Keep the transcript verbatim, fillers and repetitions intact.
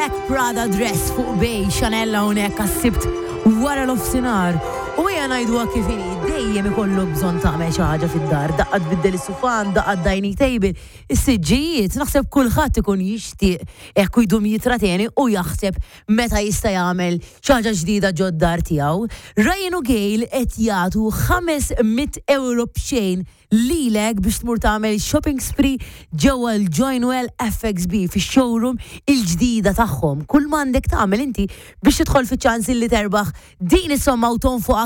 Black Prada dress fuq bej Chanel hawnhekk għas-Sibt wara nofsinhar. U ejja ngħidu kif inhi, dejjem ikollok bżonn tagħmel xi ħaġa fid-dar, daqqa tbiddel is-sufan, daqqa dining table, is-siġġijiet, naħseb kulħadd ikun jixtieq hekk jdum jitrateni u jaħseb meta jista' jagħmel xi ħaġa ġdida ġod-dar tiegħu. Ryan u Gail qed jagħtu ħames mitt euro b'xejn lilek biex tmur tagħmel shopping spree ġewwa l-Joinwell F X B fix-showroom il-ġdida tagħhom. Kull m'għandek tagħmel inti biex tidħol fiċ-ċans li terbaħ din is-somma u tonfoqha.